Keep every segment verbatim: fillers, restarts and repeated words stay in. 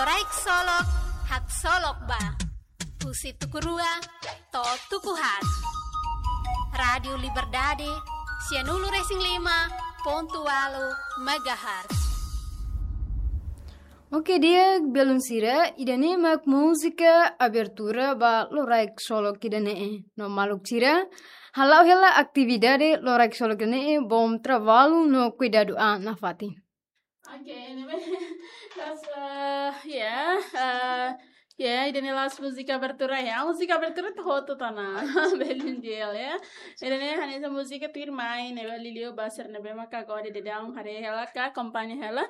Loraik Solok, haksolok ba. Husi tuku rua to'o tuku haat. Rádiu Liberdade, sianulu-resin-lima pontu ualu megahertz. Oke, di'ak, belun sira, ida-ne'e mak múzika abertura ba Loraik Solok ida-ne'e. No maluk sira, hala'o hela atividade Loraik Solok ida-ne'e, bom trabalho no kuidadu an nafatin. Oke, ne'ebé, kas, eh, ya, eh, ya, ida-ne'e la'ós múzika abertura ya, múzika abertura to'o hotu tiha ona, belun di'ak ya. Ida-ne'e hanesan múzika tuirmai, ne'ebé liuliu ba sira ne'ebé maka agora daudaun haree hela ka akompaña hela.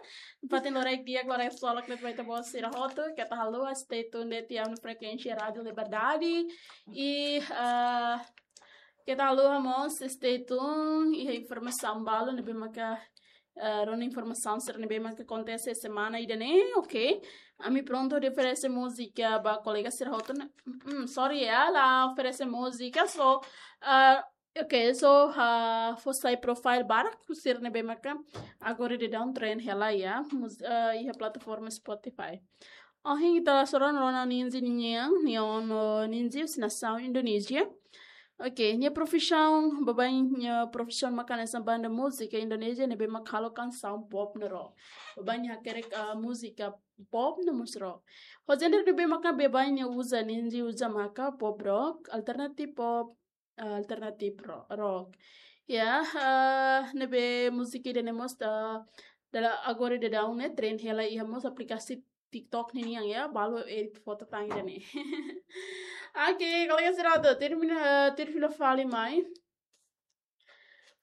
Fatin loraik di'ak, Loraik Solok ne'e ba ita-boot sira hotu, keta haluha stay tune de'it iha frekuénsia Rádiu Liberdade. I, eh, keta haluha mós stay tune iha informasaun balu ne'ebé maka, eh, rona informasaun sira ne'ebé maka akontese semana ida-ne'e, oke? Ami prontu hodi oferese múzika ba kolega sira hotu ne'e. Mm, sorry ya, la oferese múzika, so, eh, oke, so, ah, fó sai profile barak sira ne'ebé maka agora daudaun trend hela ya, mus-, eh, iha plataforma Spotify. Ohin ita la sora rona Ninzi nian, nian, eh, Ninzi husi nasaun Indonézia. Oke, nia profisaun, baibain nia profisaun maka hanesan banda múzika Indonézia ne'ebé maka halo kansaun pop no rock. Baibain nia hakerek, ah, múzika pop no mós rock. Ho géneru ne'ebé maka baibain nia uza, Ninzi uza maka pop rock, alternative pop, ah, alternative ro-, rock. Ya, ah, ne'ebé múzika ida-ne'e mós, ah, dala agora daudaun ne'e trend hela iha mós aplikasi TikTok ninian ya, balu edit foto tan ida-ne'e. Oke, kolega sira hotu, tuir mina, eh, tuir fila fali mai.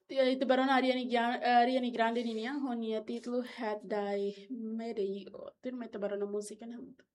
Ti-, ita bá rona Ariana Gran-, eh, Ariana Grande ninian, ho nia títulu Had Dai Made You. Tuirmai ita bá rona múzika ne'e hamutuk.